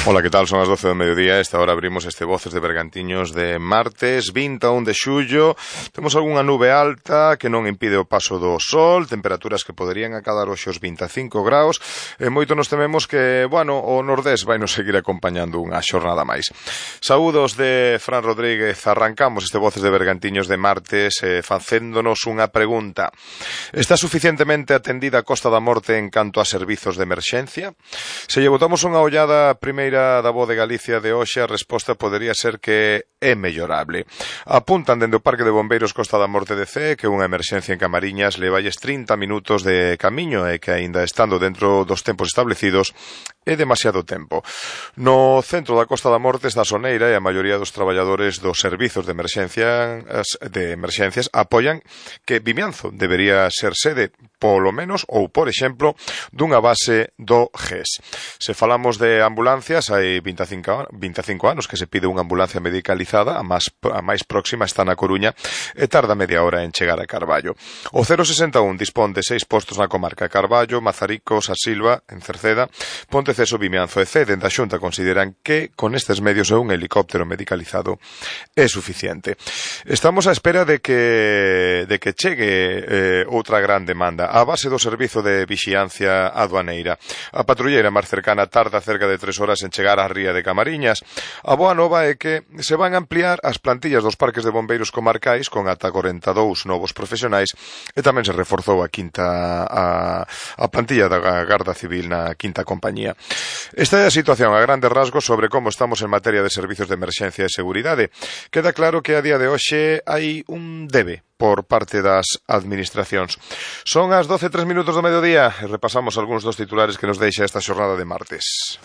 Ola, que tal? Son as 12 do mediodía. Esta hora abrimos este Voces de Bergantiños de martes 21 de xullo. Temos algunha nube alta que non impide o paso do sol, temperaturas que poderían acadar hoxe os 25 graus, e moito nos tememos que, bueno, o nordés vai nos seguir acompañando unha xornada máis. Saúdos de Fran Rodríguez. Arrancamos este Voces de Bergantiños de martes facéndonos unha pregunta. Está suficientemente atendida a Costa da Morte en canto a servizos de emerxencia? Se lle botamos unha ollada primeira da Voz de Galicia de hoxe, a resposta podería ser que é mellorable. Apuntan dende o Parque de Bombeiros Costa da Morte de Cee que unha emerxencia en Camariñas levalles 30 minutos de camiño e que, aínda estando dentro dos tempos establecidos, é demasiado tempo. No centro da Costa da Morte está a Soneira e a maioría dos traballadores dos servizos de emerxencias apoian que Vimianzo debería ser sede, polo menos, ou por exemplo, dunha base do GES. Se falamos de ambulancias, hai 25 anos que se pide unha ambulancia medicalizada, a máis próxima está na Coruña e tarda media hora en chegar a Carballo. O 061 dispón de 6 postos na comarca: Carballo, Mazaricos, A Silva, en Cerceda, Ponteceso, Vimianzo e Cee. Dende a Xunta consideran que con estes medios un helicóptero medicalizado é suficiente. Estamos á espera de que chegue outra gran demanda: a base do servizo de vixiancia aduaneira. A patrulleira máis cercana tarda cerca de 3 horas en chegar á ría de Camariñas. A boa nova é que se van a ampliar as plantillas dos parques de bombeiros comarcais con ata 42 novos profesionais, e tamén se reforzou a plantilla da Garda Civil na quinta compañía. Esta é a situación a grandes rasgos sobre como estamos en materia de servizos de emerxencia e seguridade. Queda claro que a día de hoxe hai un debe por parte das administracións. Son as 12:03 do mediodía e repasamos algúns dos titulares que nos deixa esta xornada de martes.